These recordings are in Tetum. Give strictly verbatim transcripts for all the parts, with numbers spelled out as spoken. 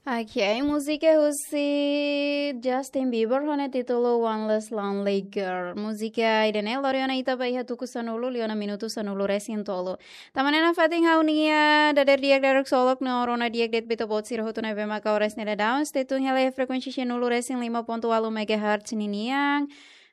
Ok, múzika husi Justin Bieber ho nia títulu One Less Lonely Girl. Múzika ida-ne'e lori ona ita ba iha tuku sanulu liu ona minutu sanulu-resin-tolu. Tanba ne'e nafatin ha'u-nia dadeer di'ak dadeer ksolok no rona di'ak de'it ba ita-boot sira hotu ne'ebé maka oras ne'e daudaun. Stay tune hela iha frekuénsia sanulu-resin-lima pontu ualu megahertz ninian.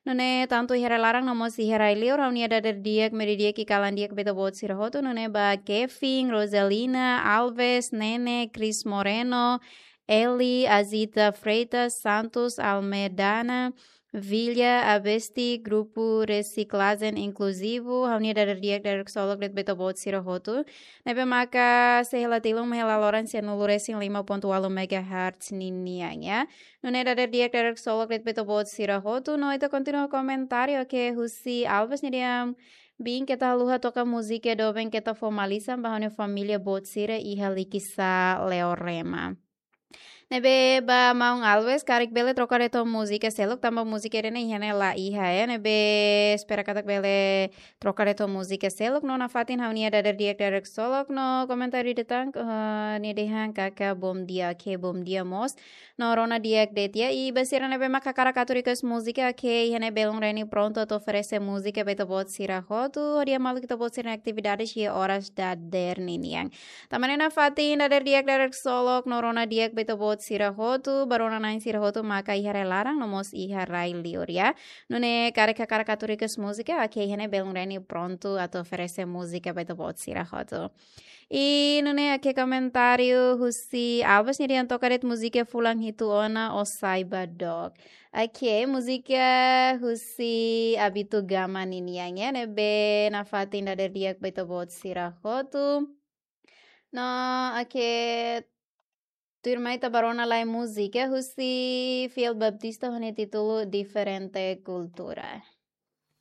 Nune'e tantu iha rai laran no mós iha rai liur ha'u-nia dadeer di'ak, mehi di'ak i kalan di'ak ba ita-boot sira hotu. Nune'e ba Kevin, Rosalina, Alves, Nene, Chris Moreno, Eli, Azita Freitas, Santos, Almedana, Villa, Abesti, Grupu Resiklajen Inkluzivu, ha'u-nia dadeer di'ak dadeer ksolok de'it ba ita-boot sira hotu. Ne'ebé maka sei hela tilun mai hela loron sanulu-resin-lima pontu ualu megahertz ninian, ya. Nune'e dadeer di'ak dadeer ksolok de'it ba ita-boot sira hotu, no ita kontinua komentáriu, oke, husi Alves nia dehan: "Biin, keta haluha toka múzika doben keta fó malisan ba ha'u-nia família boot sira iha Likisá, Leorema." Ne'ebé ba maun Alves, karik bele troka de'it ho múzika seluk, tanba múzika ida-ne'e iha ne'e la iha, ya. Ne'ebé espera katak bele troka de'it ho múzika seluk, no nafatin ha'u-nia dadeer di'ak dadeer ksolok no komentáriu ida tan, eh, nia dehan katak bom dia, oke, bom dia mós. No rona di'ak de'it, ya, i ba sira ne'ebé maka hakarak atu request múzika, oke, iha ne'e Belun Reni prontu atu oferese múzika ba ita-boot sira hotu, hodi hamaluk ita-boot sira-nia atividade iha oras dadeer ninian. Tanba ne'e nafatin dadeer di'ak dadeer ksolok no rona di'ak ba ita-boot sira hotu, ba rona-na'in sira hotu maka iha rai laran no mós iha rai liur, ya. Nune'e karik hakarak atu request múzika, oke, iha ne'e Belun Reni prontu atu oferese múzika ba ita-boot sira hotu. I nune'e oke, komentáriu husi Alves nia dehan toka de'it múzika fulan hitu ona, ó sai ba dook. Oke, múzika husi Abito Gama ninian, ya, ne'ebé nafatin dadeer di'ak ba ita-boot sira hotu. No, oke, tuirmai ita ba rona lai múzika husi Fiel Baptista ho nia títulu Diferente Kultura.